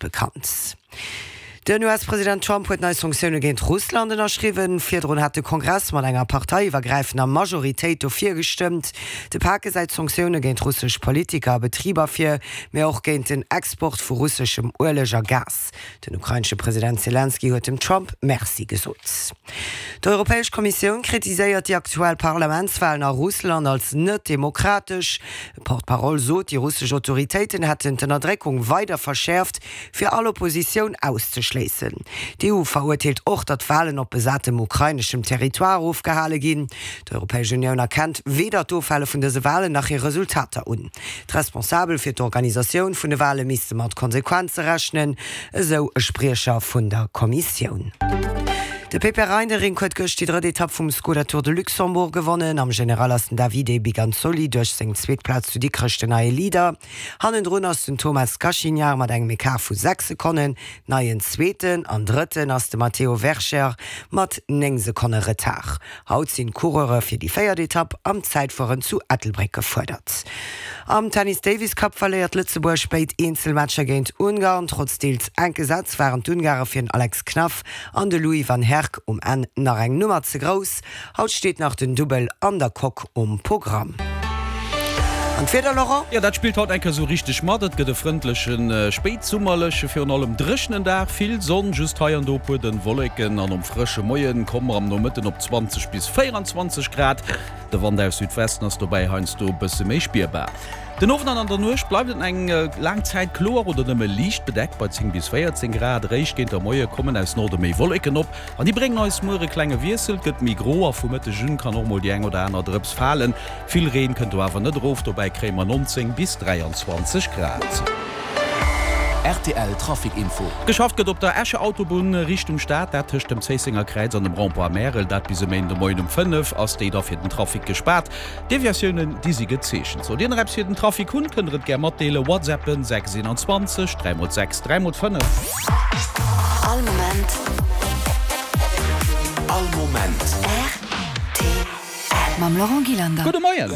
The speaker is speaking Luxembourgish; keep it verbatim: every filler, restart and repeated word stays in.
bekannt. Den U S-President Trump huet nei Sanktioune géint Russland ënnerschriwwen. Virdrun hat de Kongress mat enger parteiiwwergräifender Majoritéit dofir gestëmmt. De Pak gesäit Sanktioune géint russesch Politiker a Betriber vir, mee och géint den Export vu russeschem Ueleg a Gas. Den ukrainesche President Selenskyj huet dem Trump Merci gesot. D'Europäesch Kommissioun kritiséiert déi aktuell Parlamentswalen a Russland als net demokratesch. E Porte-parole sot, déi russesch Autoritéiten hätten d'Ënnerdréckung weider verschäerft, fir all Oppositioun auszeschléissen. D'E U verurteelt och, datt Walen op besatem ukraineschem Territoire ofgehale ginn. D'Europäesch Unioun erkennt weder d'Ofhale vun dëse Walen nach hir Resultater un. D'Responsabel fir d'Organisatioun vun de Wale misste mat Konsequenze rechnen, esou e Spriecher vun der Kommissioun. De Pepijn Reinderink huet gëscht déi drëtt Etapp vum Skoda Tour de Luxembourg gewonnen. Am General ass den Davide Biganzoli duerch seng zweet Plaz zu Dikrech den neie Leader. Hannendrun ass den Thomas Gachignard mat engem Ecart vu sechs Sekonnen neien Zweeten an Drëtten ass de Matteo Vercher mat néng Sekonne Retard. Haut sinn d'Coureure fir déi véiert Etapp am Zäitfueren zu Ettelbréck gefuerdert. Am Tennis Davis Cup verléiert Lëtzebuerg béid Eenzelmatcher géint Ungarn. Trotz deels enke Sätz waren d'Ungare fir den Alex Knaff an de Louis van Herck um Enn nach eng Nummer ze grouss. Haut steet nach den Dubbel an der Coque um Programm. An d'Wieder, Laurent? Jo, dat spillt haut eng Kéier sou richteg mat. Et gëtt e frëndlechen, spéitsummerleche, virun allem dréchenen Dag. Vill Sonn, just hei an do e puer dënn Wolleken an um frësche Moien komme mer am Nomëtten op zwanzeg bis véierenzwanzeg Grad. De Wand aus Südwesten ass dobäi heiansdo e bësse méi spierbar. Den Owend an an der Nuecht bleift et eng laang Zäit kloer oder nëmme liicht bedeckt bei zéng bis véierzéng Grad. Eréischt géint der Moie kommen aus Norde méi Wolleken op an déi bréngen eis muer e klenge Wiessel. Et gëtt méi gro a vu Mëtteg un kann och mol déi eng oder aner Drëps falen. Vill Reen kënnt do awer net erof, dobäi kréie mer nonzéng bis dräianzwanzeg Grad. R T L Trafic Info. Geschafft gëtt op der Escher Autobunn Richtung Stad, dat tëscht dem Zéissenger Kräiz an dem Rond-point Märel. Dat bis e Méinden de Moien um fënnef ass déi da fir den Trafic gespaart. Deviatiounen, déi si gezeechent. Sollt Dir nach eppes fir den Trafic hunn, kënnt Der et gär matdeelen. WhatsAppen sechs einundzwanzeg dräi mol sechs dräi mol fënnef. All Moment. All Moment. R T L. Mam Laurent Gillander. Gudde Moien.